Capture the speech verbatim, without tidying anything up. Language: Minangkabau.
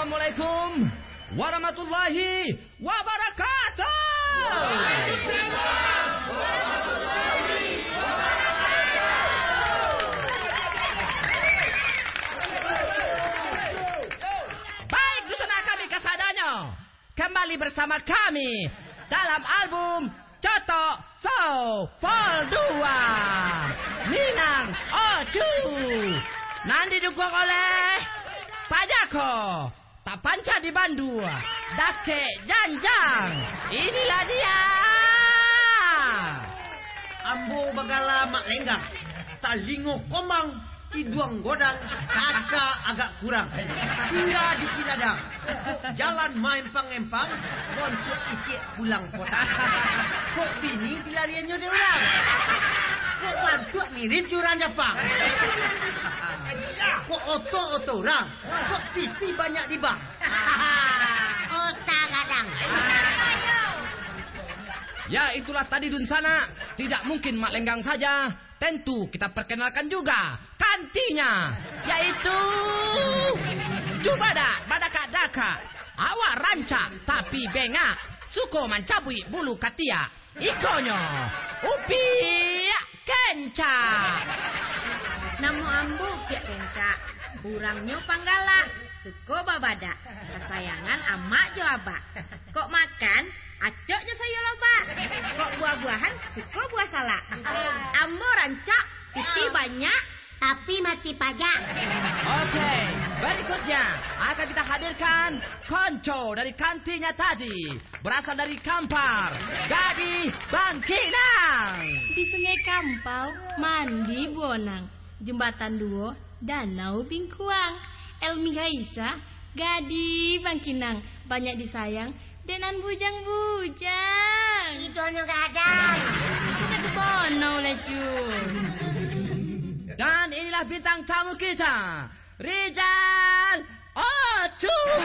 Assalamualaikum warahmatullahi wabarakatuh. Baik, dunsanak kami kasadonyo, kembali bersama kami dalam album Cotok Show Vol dua, Minang Ocu, nan didukung oleh Pak Jako, tapanca di Bandu, Dakek Janjang. Inilah dia. Ambo bagala Mak Lenggang, talingo komang, iduang godang, kaka agak kurang. Tingga di Ciladang, jalan maempang-empang, bontuak ikiak pulang kota. Kok bini dilariannyo dek urang? Kok bantuak mirip jo urang Japang? Kok oto-oto urang? Kok piti banyak di bank? Otak gadang. Ya, itulah tadi, dunsanak. Tidak mungkin Mak Lenggang saja. Tentu kita perkenalkan juga kantinyo, yaitu Cubadak Badakak-dakak. Awak rancak tapi bengak, suko mancabuik bulu katiak. Ikonyo Upiak Kencak. Namo ambo Upiak Kencak. Urangnyo panggalak, suko babadak. Kasayangan amak jo abak. Kok makan, acok jo sayua lobak. Kok buah-buahan, suko buah salak. Ambo rancak, piti banyak, tapi mati pajak. Oke, berikutnya akan kita hadirkan konco dari kantinyo tadi. Berasal dari Kampar, Gadih Bangkinang. Di Sungai Kampau, mandi buonang. Jembatan Duo, Danau Bingkuang. Elmi Gaisa, Gadih Bangkinang. Banyak disayang dek nan bujang-bujang. Idonyo gadang. Sudah tu bonau lah, Cu. Dan inilah bintang tamu kita, Rizal Ocu.